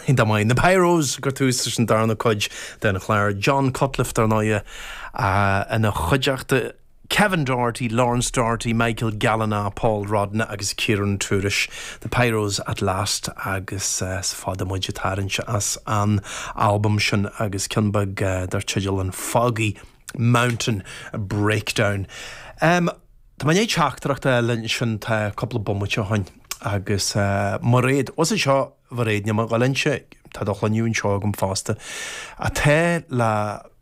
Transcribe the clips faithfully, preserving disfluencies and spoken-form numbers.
Iontach maith. Na Pyros ag cur tús leis an darna cuid den chlár. John Cutliff dar ndóigh ina chuideachta. Kevin Doherty, Lawrence Doherty, Michael Gallanagh, Paul Rodna agus Kieran Tourish. The Pyros at Last agus is fada muid ag tarraingt as an albam sin agus ceann beag dar teideal an Foggy Mountain Breakdown. Um, Tá mé teachtaireacht eile sin tá cúpla bomaite ó shin agus Mairéad, os é seo Mhairéad ní Ghalinse tá do shloinne anseo agam fosta, atá le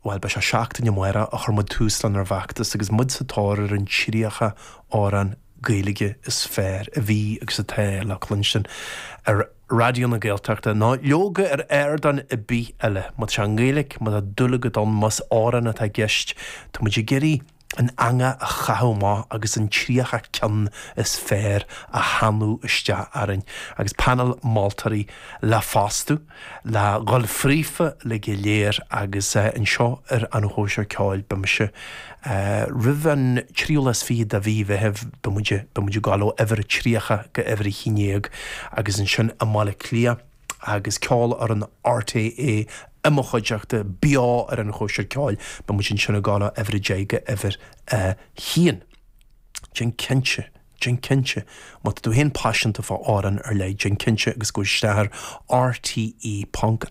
bhuel beidh sé seachtain amárach a chuir muid tús lenár bhfeachtas agus muid sa tóir ar an tríocha amhrán Gaeilge is fearr a bhí agus atá le cluinstin ar Raidió na Gaeltachta ná leoga ar ardán ar bith eile. Má tá sé i nGaeilge, má tá dúil agat ann, más amhrán atá i gceist, tá muid ag iarraidh an eangach a chaitheamh amach agus an tríocha ceann is fearr a shannadh isteach orainn, agus panel moltóirí le fostú, le dhul fríofa le go léir agus anseo ar an Chóisir Ceoil beidh mise roimh an tríú lá is fiche de mhí Mheithimh beidh muid beidh muid ag gabháil ó uimhir a tríocha go uimhir a haon déag agus ansin i mBaile Átha Cliath agus ceol ar an RTÉ i mo chuideachta beo ar an Chóisir Ceoil, beidh muid ansin ag gabháil ó uimhir a deich go uimhir a haon. Déan cinnte, déan cinnte, má tá tú féin paiseanta fá amhrán ar leith, déan cinnte agus gabh isteach ar rte ponc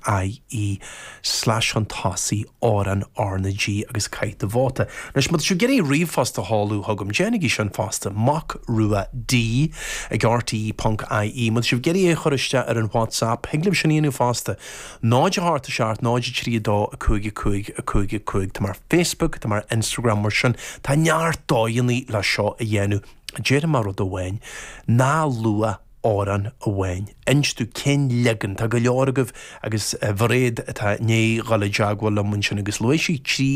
ie slash chun tosaigh amhrán R na G agus caith do vóta. Anois, má tá sibh ag iarraidh ríomhphost a sheoladh chugam, déanaigí sin fosta, mac rua D ag rte ponc ie. Má tá sibh ag iarraidh é a chur isteach ar an WhatsApp, thig libh sin a dhéanamh fosta, náid a hocht a seacht, náid a trí a dó, a cúig a cúig, a cúig a cúig. Tá mé ar Facebook, tá mé ar Instagram, mar sin tá neart dóigheanna le seo a dhéanamh. Déarfaidh mé rud amháin, ná luaigh amhrán amháin. Inis domh cén leagan, tá go leor agaibh agus Mhairéad atá i ndiaidh dhul i dteagmháil liom ansin agus luaigh sí trí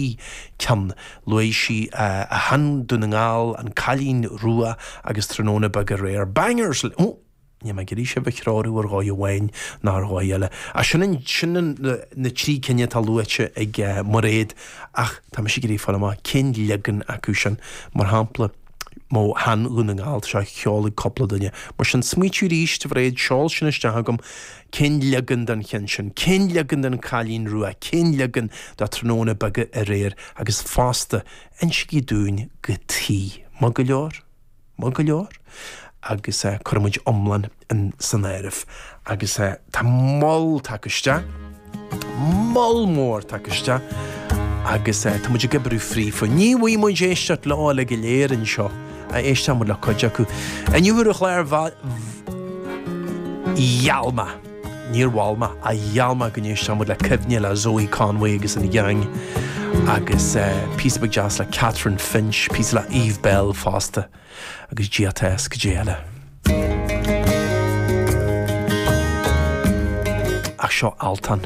ceann, luaigh sí A Shean Dún na nGall, An Cailín Rua agus Tráthnóna Beag Aréir. Bangers! Ó! Níl mé ag iarraidh sibh a threorú ar dhóigh amháin ná ar dhóigh eile. Ach sin an, sin an, na trí cinn atá luaite ag Mairéad ach tá mise ag iarraidh fáil amach cén leagan acu sin. Mar shampla, Mo Shean Dhún na nGall, tá sé á cheol ag cúpla duine. Mar sin, smaoitiú arís, a Mhairéad, seol sin isteach chugam, cén leagan den cheann sin, cén leagan den Chailín Rua, cén leagan de Tráthnóna Beag Aréir agus fosta, insígí dúinn cad chuige. Maith go leor? Maith go leor? Agus cuirfidh muid iomlán san áireamh. Agus tá moll tagtha isteach. Moll mór tagtha isteach agus tá muid ag oibriú fríofa. Ní bhfaighidh muid éisteacht leo uilig go léir anseo, ach éistfidh muid le cuid acu. Inniu ar an chlár gheall mé, níor mhol mé, ach gheall mé go n-éistfeadh muid le Cuimhne le Zoe Conway agus an Gang agus píosa beag deas le Catherine Finch, píosa le Eve Belle fosta. Agus Dia atá is cad é eile. Ach seo Altan.